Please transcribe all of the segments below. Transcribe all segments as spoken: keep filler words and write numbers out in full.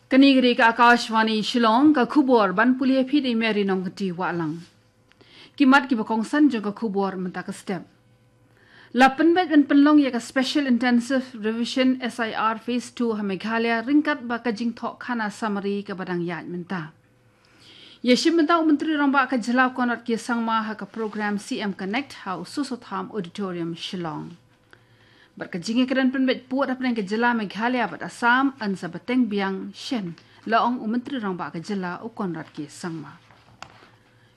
Kane ka dei ka Akashvani Shillong, ka khubor ban pule phi da i Mary Nongkynti Wahlang. Ki mat kiba kongsan jong ka khubor mynta ka step. La pynbeit ban pynlong ïa ka Special Intensive Revision, S I R, Phase two ha Meghalaya ryngkat bad ka jingthoh khana summary kaba dang ïaid mynta. Ïa shim bynta u Myntri Rangbah ka jylla u Conrad K Sangma ha ka program C M Connect ha u Soso Tham Auditorium, Shillong. Bad ka jingïakren pynbeit pud hapdeng ka jylla Meghalaya bad Assam yn sa bteng biang shen, la ong u Myntri Rangbah ka jylla u Conrad K Sangma.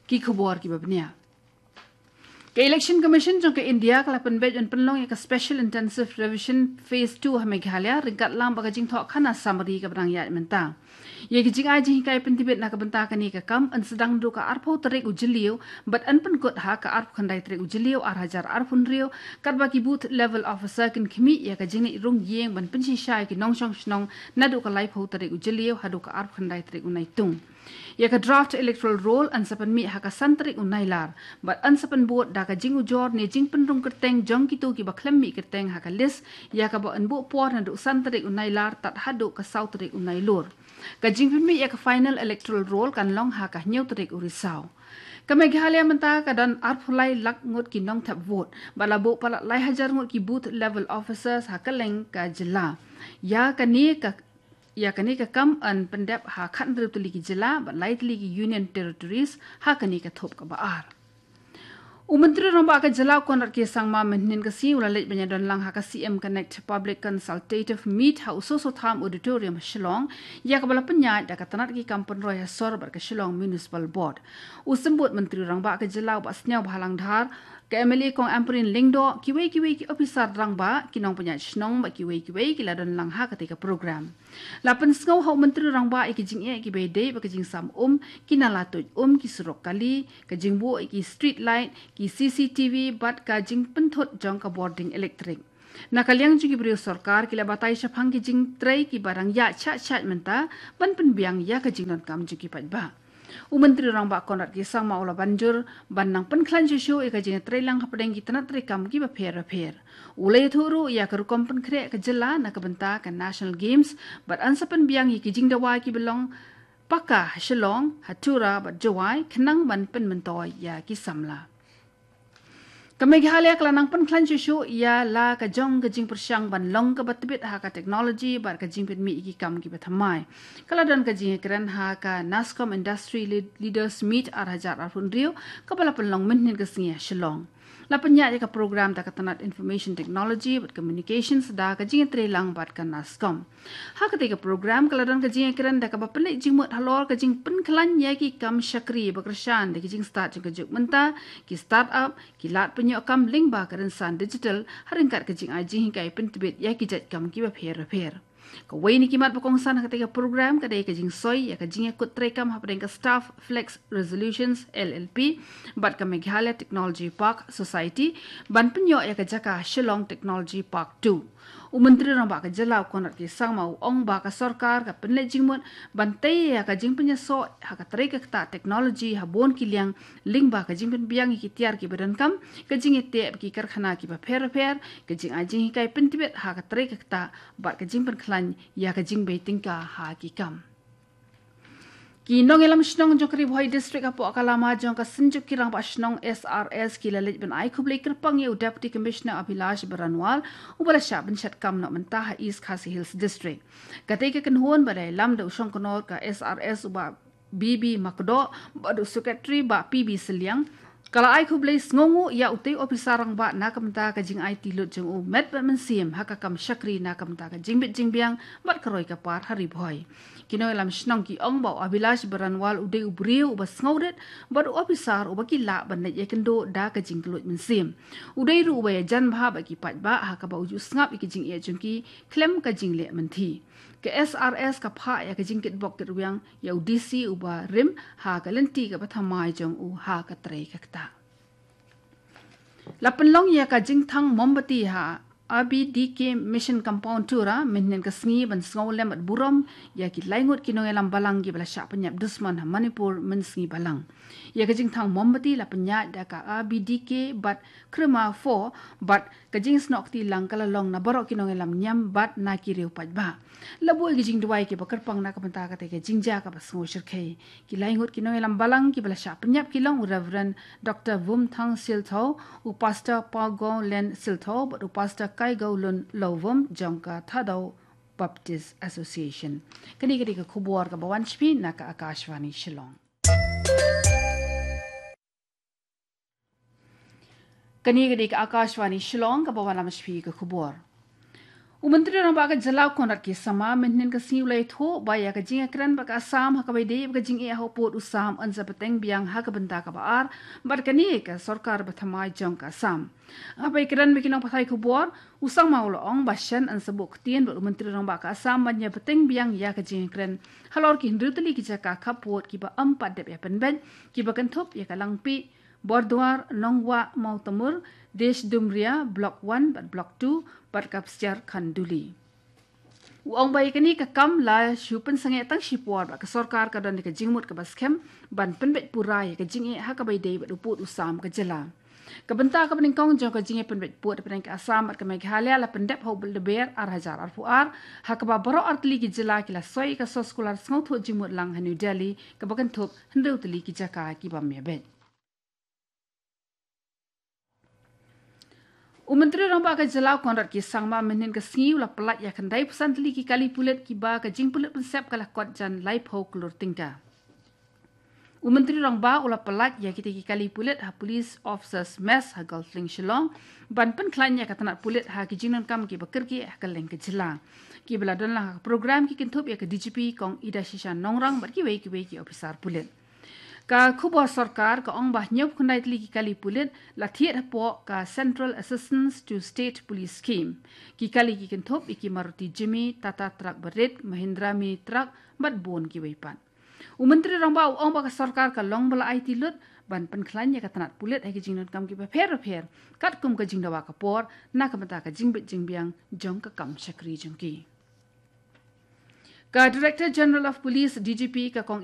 Ki khubor kiba bniah. Ka Election Commission jong ka India ka la pynbeit ban pynlong ïa ka Special Intensive Revision Phase two ha Meghalaya ryngkat lang bad ka jingthoh khana summary kaba dang ïaid mynta. Ïa ki jingai jinghikai pyntbit na ka bynta kane ka kam yn sdang naduh ka arphew tarik u Jylliew bad yn pynkut ha ka arphew khyndai tarik u Jylliew ar hajar arphew hynriew, katba ki Booth Level Officer kin khmih ïa ka jingleit rung ïing ban pynshisha ïa ki nongshong shnong naduh ka laiphew tarik u Jylliew haduh ka arphew khyndai tarik u Naitung. Ïa ka draft electoral roll yn sa pynmih ha ka san tarik u Nailar bad yn sa pynbud da ka jingujor ne jingpynrung kyrteng jong kito kiba khlem mih kyrteng ha ka list, ïa kaba yn buh por naduh san tarik u Nailar tad haduh ka saw tarik u Nailur. Ka jingpynmih ïa ka final electoral roll kan long ha ka hynñiew tarik u Risaw. Ka Meghalaya mynta ka don arphew lai lak ngut ki nongthep vote bad la buh palat lai hajar ngut ki Booth Level Officers ha kylleng ka jylla. Ïa kane ka ïa kane ka kam yn pyndep ha khathynriew tylli ki jylla bad lai tylli ki Union Territories ha kane ka thup kaba ar. U Myntri Rangbah ka jylla u Conrad K Sangma mynhynnin ka sngi u la leit ban ïadon lang ha ka C M Connect Public Consultative Meet ha u Soso Tham Auditorium, Shillong, ïa kaba la pynïaid da ka tnat ki kam pynroi ha sor bad ka Shillong Municipal Board. U Symbud Myntri Rangbah ka jylla u Bah Sniawbhalang Dhar, ka M L A Kong Ampareen Lyngdoh, kiwei kiwei ki ophisar rangbah, ki nongpynïaid shnong bad kiwei kiwei ki la don lang ha katei ka program. La pynsngew ha u Myntri Rangbah ïa ki jingeh kiba ïadei bad ka jingsam um, ki nala tuid um, ki surok kali, ka jingbuh ïa ki street light, ki C C T V bad ka jingpynthut jong ka bording elektrik. Na ka liang jong ki briew sorkar ki la batai shaphang ki jingtrei kiba dang ïaid shah shah mynta ban pynbiang ïa ka jingdonkam jong ki paidbah. U Myntri Rangbah Conrad K Sangma u la ban jur ban nang pynkhlaiñ shuh shuh ïa ka jingtreilang hapdeng ki tnat treikam kiba pher bapher. U la ïathuh ruh ïa ka rukom pynkhreh ka jylla na ka bynta ka National Games bad yn sa pynbiang ïa ki jingdawa kiba long paka ha Shillong, ha Tura bad Jowai khnang ban pynmyntoi ïa ki samla. Ka Meghalaya ka la nang pynkhlaiñ shuh shuh ïa la ka jong ka jingpyrshang ban long kaba tbit ha ka technology bad ka jingpynmih ïa ki kam kiba thymmai. Ka la don ka jingïakren ha ka NASSCOM Industry Lead-, Leaders Meet ar hajar arphew hynriew kaba la pynlong mynhynnin ka sngi ha Shillong. La pynïaid ïa ka program da ka tnat Information Technology bad Communications da ka jingïatreilang bad ka NASSCOM. Ha katei ka program ka la don ka jingïakren da kaba pynleit jingmut halor ka jingpynkhlaiñ ïa ki kam shakri ba kyrshan da ki jingstad jong ka juk mynta, ki start-up, ki lad pynïoh kam lyngba ka rynsan digital, ha ryngkat ka jingai jinghikai pyntbit ïa ki jait kam kiba pher bapher. Kawei na ki mat ba kongsan ha katei ka program ka dei ka jingsoi ïa ka jingïakut treikam hapdeng ka Staff Flex Resolutions, L L P, bad ka Meghalaya Technology Park Society ban pynïoh ïa ka jaka Shillong Technology Park two. U Myntri Rangbah ka jylla u Conrad K Sangma u ong ba ka sorkar ka pynleit jingmut ban tei ïa ka jingpynïasoh ha ka trei ka ktah technology ha bun ki liang lyngba ka jingpynbiang ïa ki tiar kiba donkam, ka jingïateh bad ki karkhana kiba pher bapher, ka jingai jinghikai pyntbit ha ka trei ka ktah bad ka jingpynkhlaiñ ïa ka jingbei tyngka ha ki kam. Ki nongïalam shnong jong ka Ri Bhoi District hapoh ka lama jong ka Synjuk ki Rangbah Shnong, S R S, ki la leit ban ai khublei kyrpang ïa u Deputy Commissioner Abhilash Baranwal uba la shah bynshad kam noh mynta ha East Khasi Hills District. Katei ka kynhun ba la ïalam da u Shongknor ka S R S u Bah B B Makdoh bad u Secretary Bah P B Sylliang, ka la ai khublei sngewnguh ïa utei u ophisar rangbah na ka bynta ka jingaiti lut jong u met bad mynsiem ha ka kam shakri na ka bynta ka jingbit jingbiang bad ka roi ka par ha Ri Bhoi. Ki nongïalam shnong ki ong ba u Abhilash Baranwal u dei u briew uba sngewrit bad u ophisar uba ki lah ban leit ïakynduh da ka jingkylluid mynsiem. U dei ruh uba ïajan bha bad ki paidbah ha kaba u ju sngap ïa ki jingeh jong ki khlem ka jingleh mynthi. Ka S R S ka phah ïa ka jingkitbok kitrwiang ïa u D C uba rim ha ka lynti kaba thymmai jong u ha ka trei ka ktah. La pynlong ïa ka jingthang mombati ha R B D K Mission Compound Tura mynhynnin ka sngi ban sngewlem bad burom ïa ki laingut ki nongïalam balang kiba la shah pynïap dusmon ha Manipur mynsngi balang. Ïa ka jingthang mombati la pynïaid da ka R B D K bad Krima four bad ka jingsnoh kti lang ka la long na baroh ki nongïalam niam bad na ki riew paidbah. La buh ïa ki jingduwai kiba kyrpang na ka bynta katei ka jingjia kaba sngewshyrkhei. Ki laingut ki nongïalam balang kiba la shah pynïap ki long u Reverend Doctor Vumthang Siltho, u Pastor Pawgawlen Siltho bad u Pastor Kaigawlun Lawvum jong ka Thadou Baptist Association. Kane ka dei ka khubor kaba wan sha phi na ka Akashvani Shillong. Kane ka dei ka Akashvani Shillong kaba wan lam sha phi ka khubor. U Myntri Rangbah ka jylla u Conrad K Sangma mynhynnin ka sngi u la ïathuh ba ïa ka jingïakren bad ka Assam ha kaba ïadei bad ka jingeh ha u pud u sam yn sa bteng biang ha ka bynta kaba ar bad kane ka sorkar bathymmai jong ka Assam. Haba ïakren bad ki nongpathai khubor, u Sangma u la ong ba shen yn sa buh ktien bad u Myntri Rangbah ka Assam ban ïa bteng biang ïa ka jingïakren halor ki hynriew tylli ki jaka khappud kiba ym pat dep ïa pynbeit kiba kynthup ïa ka Langpih, Borduar, Nongwah, Mawtamur, Desh Dumria, Block one bad Block two bad ka Psiar Khanduli. U ong ba ïa kane ka kam la shu pynsangeh tang shipor bad ka sorkar ka don ïa ka jingmut kaba skhem ban pynbeit pura ïa ka jingeh ha kaba ïadei bad u pud u sam ka jylla. Ka bynta kaba nyngkong jong ka jingeh pynbeit pud hapdeng ka Assam bad ka Meghalaya la pyndep ha u Lber ar hajar arphew ar, ha kaba baroh ar tylli ki jylla ki la soi ïa ka soskular sngewthuh jingmut lang ha New Delhi kaba kynthup hynriew tylli ki jaka ki bym ïabeit. U Myntri Rangbah ka jylla u Conrad K Sangma mynhynnin ka sngi u la pyllait ïa khyndai phew san tylli ki kali pulit kiba ka jingpulit pynsep ka la kot jan laiphew klur tyngka. U Myntri Rangbah u la pyllait ïa kitei ki kali pulit ha Police Officers Mess ha Golf Link Shillong ban pynkhlaiñ ïa ka tnat pulit ha ki jingdonkam kiba kyrkieh ha kylleng ka jylla. Kiba la don lang ha ka program ki kynthup ïa ka D G P Kong Idashisha Nongrang bad kiwei kiwei ki ophisar pulit. Ka khubor sorkar ka ong ba hynñiewphew khyndai tylli ki kali pulit la thied hapoh ka Central Assistance to State Police Scheme. Ki kali ki kynthup ïa ki Maruti Jimny, Tata truck barit, Mahindra mini truck bad bun kiwei pat. U Myntri Rangbah u ong ba ka sorkar ka long ba la aiti lut ban pynkhlaiñ ïa ka tnat pulit ha ki jingdonkam kiba pher bapher katkum ka jingdawa ka por na ka bynta ka jingbit jingbiang jong ka kam shakri jong ki. Ka Director General of Police, D G P, ka Kong